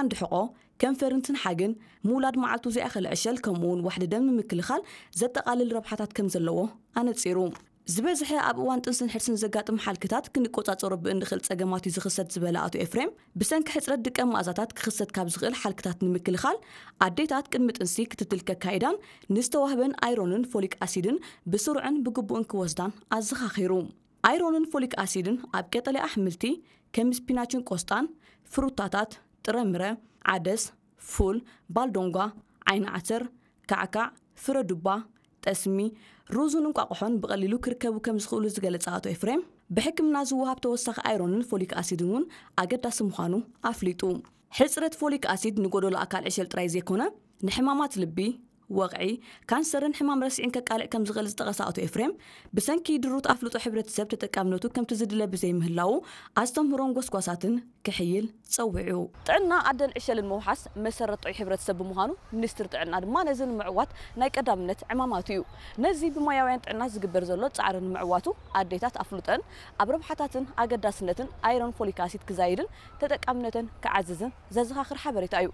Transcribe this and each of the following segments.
ዓንዲ ሕቖ፣ ከንፈርን ትንሓግን፣ ምውላድ መዓልቱ ዘይኣኸለ ዕሸል፣ ከምኡውን ዋሕዲ ደም ንምክልኻል ዘጠቓልል ረብሓታት ከም ዘለዎ ኣነጺሩ። ዝበዝሐ ኣብ እዋን ጥንስን ሕርስን ዘጋጥም ሓልክታት ክንቆጻጸሮ ብእንኽእል ጸገማት እዩ ዝኽሰት ዝበለ ኣቶ ኤፍሬም፣ ብሰንኪ ሕጽረት ድቀ መኣዛታት ክኽሰት ካብ ዝኽእል ሓልክታት ንምክልኻል ኣዴታት ቅድሚ ጥንሲ ክትትል ከካይዳን ንዝተዋህበን ኣይሮንን ፎሊክ ኣሲድን ብስሩዕን ብግቡእን ክወስዳን ኣዘኻኺሩ። ኣይሮንን ፎሊክ ኣሲድን ኣብ ቀጠልያ ኣሕምልቲ ከም ስፒናችን ቆስጣን፣ ፍሩታታት፣ ጥረምረ፣ ዓደስ፣ ፉል፣ ባልዶንጓ፣ ዓይኒ ዓተር፣ ካዕካዕ፣ ፍረ ዱባ፣ ጠስሚ፣ ሩዝን እንቋቑሖን ብቐሊሉ ክርከቡ ከም ዝኽእሉ ዝገለጸ ኣቶ ኤፍሬም፣ ብሕክምና ዝወሃብ ተወሳኺ ኣይሮንን ፎሊክ ኣሲድን እውን ኣገዳሲ ምዃኑ ኣፍሊጡ። ሕጽረት ፎሊክ ኣሲድ ንጎደሎ ኣካል ዕሸል ጥራይ ዘይኮነ፣ ንሕማማት ልቢ፣ ወቕዒ፣ ካንሰርን ሕማም ረስዒን ከቃልዕ ከም ዝኽእል ዝጠቐሰ ኣቶ ኤፍሬም፣ ብሰንኪ ድሩት ኣፍልጦ ሕብረተሰብ ተጠቃምነቱ ከምቲ ዝድለ ብዘይምህላዉ ኣስተምህሮን ጎስጓሳትን ክሕይል ጸዊዑ። ጥዕና ኣደን ዕሸልን ምውሓስ መሰረት ጥዑይ ሕብረተሰብ ብምዃኑ፣ ሚኒስትሪ ጥዕና ድማ ነዚ ንምዕዋት ናይ ቀዳምነት ዕማማቱ እዩ። ነዚ ብሞያውያን ጥዕና ዝግበር ዘሎ ጻዕሪ ንምዕዋቱ፣ ኣዴታት ኣፍልጠን ኣብ ረብሓታትን ኣገዳስነትን ኣይሮን ፎሊክ ኣሲድ ክዛይድን ተጠቃምነተን ክዓዝዝን ዘዘኻኽር ሓበሬታ እዩ።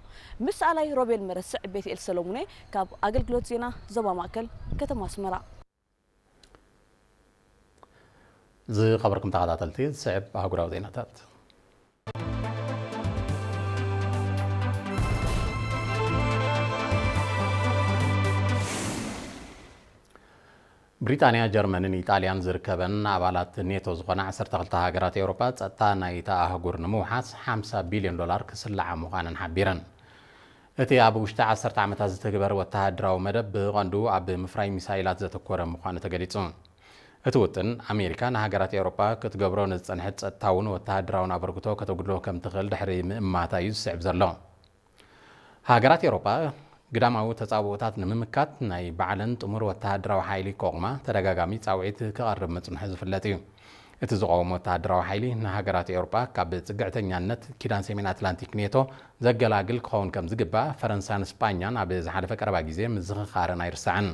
ምስ ኣላይ ሮቤል መረስዕ፣ ቤትኤል ሰሎሙኔ ካብ ኣገልግሎት ዜና ዞባ ማእከል ከተማ ኣስመራ። ዝኸበርኩም ተኸታተልቲ፣ ዝስዕብ ኣህጉራዊ ዜናታት። ብሪጣንያ፣ ጀርመንን ኢጣልያን ዝርከበን ኣባላት ኔቶ ዝኾና ዓሰርተ ክልተ ሃገራት ኤውሮጳ፣ ጸጥታ ናይታ ኣህጉር ንምውሓስ ሓምሳ ቢልዮን ዶላር ክስልዓ ምዃነን ሓቢረን። እቲ ኣብ ውሽጢ ዓሰርተ ዓመታት ዝትግበር ወተሃደራዊ መደብ ብቐንዱ ኣብ ምፍራይ ሚሳይላት ዘተኮረ ምዃኑ ተገሊጹ። እቲ ውጥን፣ ኣሜሪካ ንሃገራት ኤውሮጳ ክትገብሮ ንዝጸንሐት ጸጥታውን ወተሃደራውን ኣበርክቶ ከተጉድሎ ከም ትኽእል ድሕሪ ምእማታ እዩ ዝስዕብ ዘሎ። ሃገራት ኤውሮጳ ግዳማዊ ተጻብኦታት ንምምካት ናይ ባዕለን ጥሙር ወተሃደራዊ ሓይሊ ከቑማ ተደጋጋሚ ጻውዒት ክቐርብ ምጽንሑ ዝፍለጥ እዩ። እቲ ዝቐውም ወተሃደራዊ ሓይሊ ንሃገራት ኤውሮጳ ካብ ጽግዕተኛነት ኪዳን ሰሜን ኣትላንቲክ ኔቶ ዘገላግል ክኸውን ከም ዝግባእ ፈረንሳን ስጳኛን ኣብ ዝሓለፈ ቀረባ ግዜ ምዝኽኻረን ኣይርሳዕን።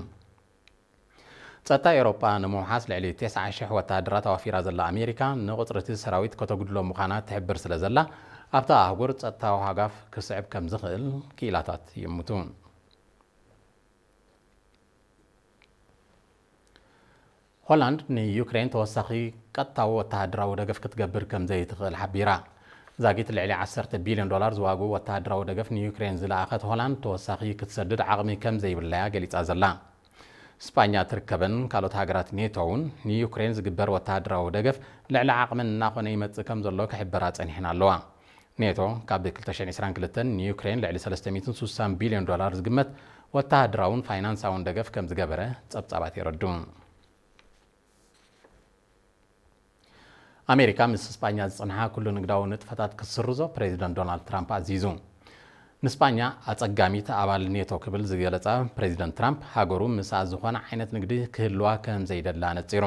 ጸጥታ ኤውሮጳ ንምውሓስ ልዕሊ ተስዓ ሽሕ ወተሃደራት ኣዋፊራ ዘላ ኣሜሪካ፣ ንቁጽሪ እቲ ሰራዊት ከተጉድሎ ምዃና ትሕብር ስለ ዘላ፣ ኣብታ ኣህጉር ጸጥታዊ ሃጋፍ ክስዕብ ከም ዝኽእል ክኢላታት ይእምቱ። ሆላንድ ንዩክሬን ተወሳኺ ቀጥታዊ ወተሃደራዊ ደገፍ ክትገብር ከም ዘይትኽእል ሓቢራ። ዛጊት ልዕሊ ዓሰርተ ቢልዮን ዶላር ዝዋግኡ ወተሃደራዊ ደገፍ ንዩክሬን ዝለኣኸት ሆላንድ፣ ተወሳኺ ክትሰድድ ዓቕሚ ከም ዘይብላ'ያ ገሊጻ ዘላ። ስጳኛ ትርከበን ካልኦት ሃገራት ኔቶ እውን ንዩክሬን ዝግበር ወተሃደራዊ ደገፍ ልዕሊ ዓቕመን እናኾነ ይመጽእ ከም ዘሎ ክሕበራ ጸኒሐን ኣለዋ። ኔቶ ካብ ክልተ ሽሕን ዕስራን ክልተን ንዩክሬን ልዕሊ ሰለስተ ሚእትን ስሳን ቢልዮን ዶላር ዝግመት ወተሃደራውን ፋይናንሳውን ደገፍ ከም ዝገበረ ጸብጻባት የረድኡ። ኣሜሪካ ምስ ስጳኛ ዝጸንሓ ኩሉ ንግዳዊ ንጥፈታት ክትስርዞ ፕሬዚደንት ዶናልድ ትራምፕ ኣዚዙ። ንስጳኛ ኣጸጋሚት ኣባል ኔቶ ክብል ዝገለጻ ፕሬዚደንት ትራምፕ፣ ሃገሩ ምስኣ ዝኾነ ዓይነት ንግዲ ክህልዋ ከም ዘይደላ ኣነጺሩ።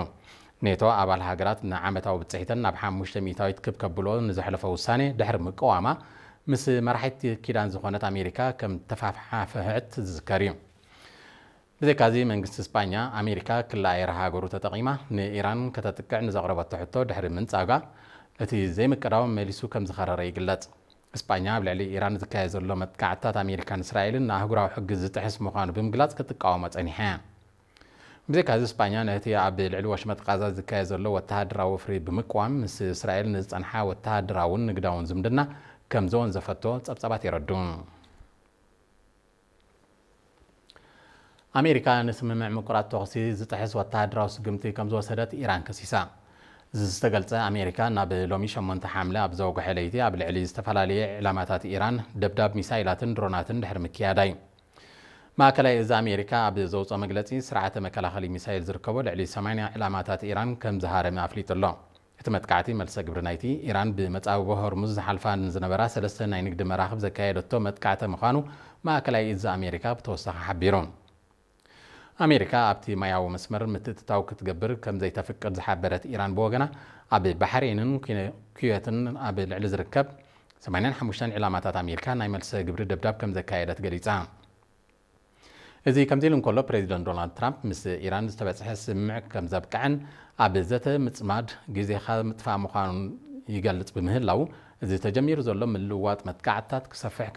ኔቶ ኣባል ሃገራት ንዓመታዊ ብጽሒተን ናብ ሓሙሽተ ሚእታዊት ክብ ከብሎ ንዘሕለፎ ውሳኔ ድሕሪ ምቅዋማ፣ ምስ መራሒት ኪዳን ዝኾነት ኣሜሪካ ከም ተፋሓፍሐት ዝዝከር እዩ። ብዘይካዚ፣ መንግስቲ ስጳኛ፣ ኣሜሪካ ክልኣየር ሃገሩ ተጠቒማ ንኢራን ከተጥቅዕ ንዘቕረበቶ ሕቶ ድሕሪ ምንጻጋ፣ እቲ ዘይምቅዳው መሊሱ ከም ዝኸረረ ይግለጽ። ስጳኛ ኣብ ልዕሊ ኢራን ዝካየድ ዘሎ መጥቃዕትታት ኣሜሪካን እስራኤልን ንኣህጉራዊ ሕጊ ዝጥሕስ ምዃኑ ብምግላጽ ክትቃወሞ ጸኒሓ እያ። ብዘይካዚ፣ ስጳኛ ነቲ ኣብ ልዕሊ ወሽመጥ ቃዛ ዝካየድ ዘሎ ወተሃደራዊ ወፍሪ ብምቅዋም፣ ምስ እስራኤል ንዝጸንሓ ወተሃደራውን ንግዳውን ዝምድና ከም ዘወንዘፈቶ ጸብጻባት የረድኡ። ኣሜሪካ ንስምምዕ ምቁራጽ ተኹሲ ዝጥሕስ ወተሃደራዊ ስጉምቲ ከም ዝወሰደት ኢራን ከሲሳ። እዚ ዝተገልጸ፣ ኣሜሪካ ናብ ሎሚ ሸሞንተ ሓምለ ኣብ ዘወግሐ ለይቲ ኣብ ልዕሊ ዝተፈላለየ ዕላማታት ኢራን ደብዳብ ሚሳይላትን ድሮናትን ድሕሪ ምክያዳ እዩ። ማእከላይ እዚ ኣሜሪካ ኣብ ዘውጽኦ መግለጺ፣ ስርዓተ መከላኸሊ ሚሳይል ዝርከቦ ልዕሊ ሰማንያ ዕላማታት ኢራን ከም ዝሃረመ ኣፍሊጡ ኣሎ። እቲ መጥቃዕቲ፣ መልሰ ግብሪ ናይቲ ኢራን ብመጻብቦ ሆርሙዝ ዝሓልፋ ንዝነበራ ሰለስተ ናይ ንግዲ መራኽብ ዘካየደቶ መጥቃዕቲ ምዃኑ ማእከላይ እዚ ኣሜሪካ ብተወሳኺ ሓቢሩ። ኣሜሪካ ኣብቲ ማያዊ መስመር ምትእትታው ክትገብር ከም ዘይተፍቅድ ዝሓበረት ኢራን ብወገና፣ ኣብ ባሕሬንን ኩነ-፣ ኩዌትን ኣብ ልዕሊ ዝርከብ ሰማንያን ሓሙሽተን ዕላማታት ኣሜሪካ ናይ መልሰ ግብሪ ደብዳብ ከም ዘካየደት ገሊጻ። እዚ ከምዚ ኢሉ እንከሎ፣ ፕሬዚደንት ዶናልድ ትራምፕ ምስ ኢራን ዝተበጽሐ ስምምዕ ከም ዘብቅዐን ኣብ ዘተ ምጽማድ ግዜኻ ምጥፋእ ምዃኑን ይገልጽ ብምህላው፣ እዚ ተጀሚሩ ዘሎ ምልውዋጥ መጥቃዕትታት ክሰፍሕ